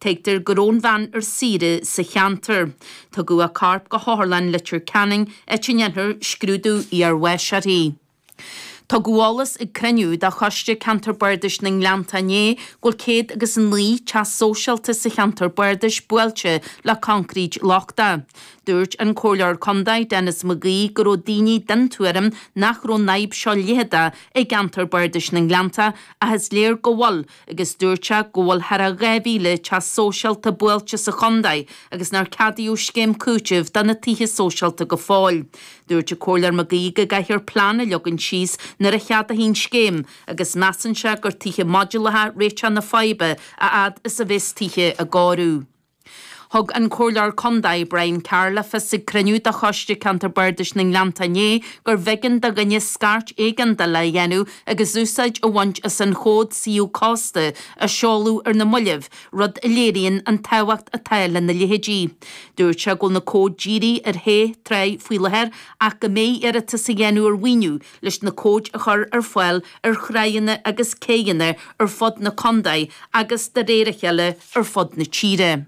Tuigtear go raibh an bhean ar saoire sa cheantar. Tugadh a corp go hOtharlann Leitir Ceanainn, áit a ndéanfar scrúdú iarbháis uirthi. Tugadh eolas ag cruinniú de Choiste Ceantar Bardais na nGleannta inné go bhfuil 109 teach sóisialta sa cheantar bardais buailte le coincréit lochtach. Dúirt an Comhairleoir Contae Denis McGee go raibh daoine den tuairim nach raibh an fhadhb seo leitheadach i gceantar bardais na nGleannta ach is léir go bhfuil agus dúirt sé go bhfuil thar a 2,000 teach sóisialta buailte sa chontae agus nár ceadaíodh scéim cúitimh do na tithe sóisialta go fóill. Dúirt an Comhairleoir McGee go gcaithfear plean a leagan síos nuair a cheadófaí an scéim agus measann sé gur tithe modúlacha réiteach na faidhbe a fhad is a bheas tithe á gcóiriú. Thug an Comhairleoir Contae Brian Carr le fios ag cruinniú de Choiste Ceantar Bardais na nGleannta inné gurbh éigean do dhuine scairt éigeandála a dhéanamh agus úsáid a bhaint as an chód suíomh cósta a seoladh ar na mallaibh, rud a léiríonn an tábhacht atá lena leithéidí. Dúirt sé go bhfuil na cóid dírithe ar shé tráigh faoi láthair ach go mbeidh iarratas á dhéanamh ar mhaoiniú leis na cóid a chur ar fáil ar thráigheanna agus céidheanna ar fud na contae agus de réir a chéile ar fud na tíre.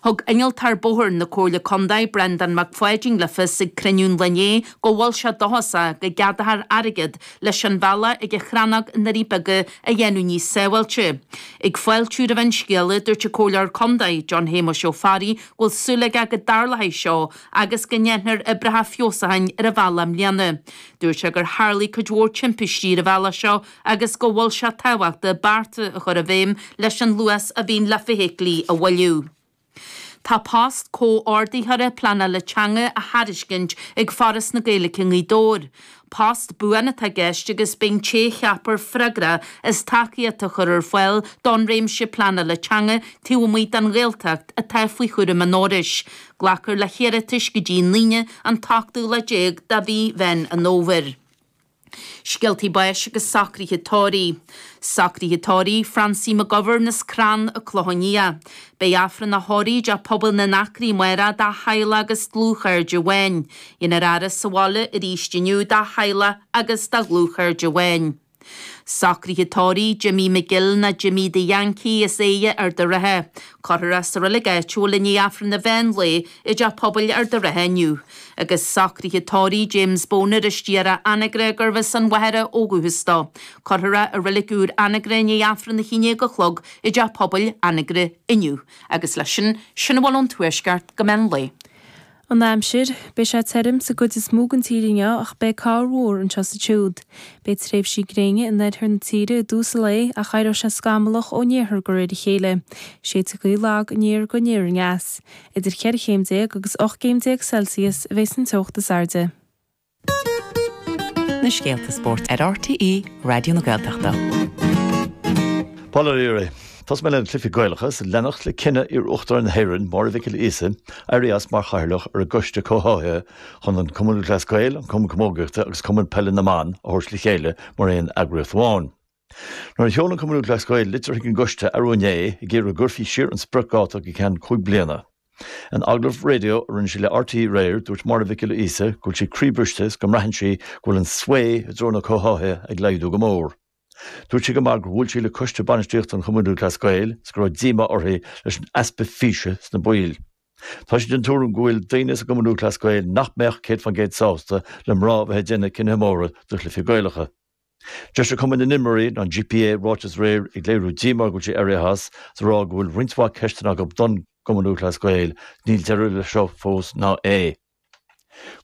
Thug Innealtóir Bóthair na Comhairle Contae, Breandán Mac Pháidín le fios ag cruinniú an lae inné go bhfuil sé dóchasach go gceadófar airgead leis an bhealach ag an Chrannóg i nDoirí Beaga a dhéanamh níos sábháilte. Ag fáiltiú roimh an scéala, dúirt an Comhairleoir Contae, John Shéamuis Ó Fearraigh, go bhfuil súil aige go dtarlóidh seo agus go ndéanfar oibreacha feabhsúcháin ar an bhealach i mbliana. Dúirt sé gur tharlaigh cuid mhór timpistí ar an bhealach seo agus go bhfuil sé tábhachtach bearta a chur i bhfeidhm leis an luas a bhíonn le feithiclí a mhoilliú. Tá post comhordaitheora pleanála teanga á thairiscint ag Foras na Gaeilge i nGaoth Dobhair. Post buan atá i gceist agus beidh an té a cheapfar freagrach as tacaíocht a chur ar fáil don réimse pleanála teanga taobh amuigh den Ghaeltacht atá faoi chúram an Fhorais. Glacfar le hiarratais go dtí an Aoine an t-ochtú lá déag de mhí Mheán an Fhómhair. Scéaltaí báis agus socruithe tórraimh. Socruithe tórraimh Francie McGovern as Crann an Clochán Liath. Beidh Aifreann a thórraimh i dTeach Pobail na nAcraí amárach dá theaghlach agus dlúthchairde amháin. Déanfar a fhaire sa bhaile arís inniu dá theaghlach agus dá dhlúthchairde amháin. Socruithe tórraimh Jimmy McGill nó Jimmy the Yankee as Aodha Ard a' Rátha. Cuirfear é sa reilig áitiúil i ndiaidh Aifreann an mheán lae i dTeach Pobail Ard a' Rátha inniu. Agus socruithe tórraimh James Boner as Díorá Anagaire gurbh as an Mhachaire ó dhúchas dó. Cuirfear é i reilig úr Anagaire i ndiaidh Aifreann a 11 a chlog i dTeach Pobail Anagaire inniu. Agus leis sin, sin a bhfuil ón Tuaisceart go meán lae. An aimsir, Beidh sé tirim sa gcuid is mó den tír inniu ach beidh corrmhúr anseo is ansiúd. Beidh tréimhsí gréine in oirthear na tíre i dtús an lae ach éireoidh sé scamallach ón iarthar de réir a chéile. Séidfidh gaoth lag aniar go aniar aneas. Idir 14 chéim agus 18 gcéim Celsius a bheas an teocht is airde. Na scéalta spóirt ar RTÉ Raidió na Gaeltachta. Paul Ó Laoire, Tosóidh mé le na cluichí Gaelacha is leanacht le cinneadh iar-Uachtarán na hÉireann, Máire Mhic Giolla Íosa, éirí as mar chathaoirleach ar an gCoiste Comhtháthaithe chun an Cumann Lúthchleas Gael, an Cumann Camógaíochta agus Cumann Peile na mBan a thabhairt le chéile mar aon eagraíocht amháin. Nuair a sheol an Cumann Lúthchleas Gael litir chuig an gcoiste arú inné ag iarraidh go gcuirfí siar an spriocdháta go ceann 5 bliana. In agallamh raidió a rinne sí le RTÉ aréir, dúirt Máire Mhic Giolla Íosa go bhfuil sí croíbhriste is go mbraitheann sí go bhfuil an svae i dtreo na comhtháthaithe ag laghdú go mór. Dúirt sí chomh maith gur bhuail sí le coiste bainistíochta an Chumainn Lúthchleas Gael is go raibh díomá uirthi leis an easpa físe sna baill. Tá sí den tuairim go bhfuil daoine sa gCumann Lúthchleas Gael nach mbeadh 100% sásta le mná a bheith ag déanamh cinnithe móra do chluichí Gaelacha. D'eisigh Cumann na nImreoirí, an GPA, ráiteas aréir ag léiriú díomá go bhfuil sí éirithe as, is ag rá go bhfuil roinnt mhaith ceisteanna acu don gCumann Lúthchleas Gael. Níl deireadh leis seo fós ná é.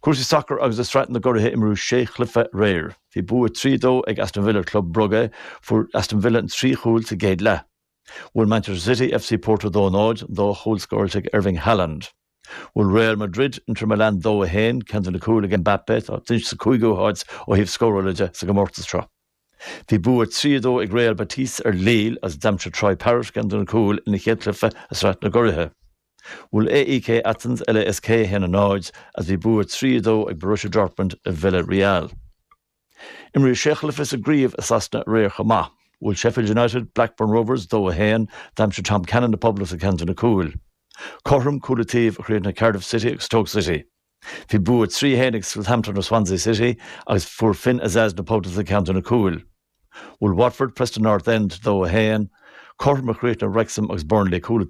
Cúrsaí sacair agus i Sraith na gCuraithe imríodh sé chluiche aréir. Bhí bua 3-2 ag Aston Villa ar Club Brugge. Fuair Aston Villa an trí chúl sa gcéad leath. Bhuail Manchester City FC Porto 2-0, an dá chúl scóráilte ag Erling Haaland. Bhuail Real Madrid Inter Milan 2, 1, ceann de na cúil ag Mbappe, atá anois sa cúigiú háit ó thaobh scórála de sa gcomórtas seo. Bhí bua 3, 2 ag Real Betis ar Lille agus d'aimsigh Troy Parrott ceann de na cúil ina chéad chluiche i Sraith na gCuraithe. Bhuail AEK Athens LASK 1, 0 agus bhí bua 3, 2 ag Borussia Dortmund ar Villarreal. Imríodh sé chluiche sa gcraobh i Sasana aréir chomh maith. Bhuail Sheffield United Blackburn Rovers 2, 1, d'aimsigh Tom Cannon na Poblachta ceann de na cúil. Cothrom, cúl an taobh, a chríochnaigh Cardiff City agus Stoke City. Bhí bua 3, 1 ag Southampton ar Swansea City agus fuair Finn Azaz na Poblachta ceann de na cúil. Bhuail Watford Preston North End 2, 1. Cothrom a chríochnaigh Wrexham agus Burnley, cúl.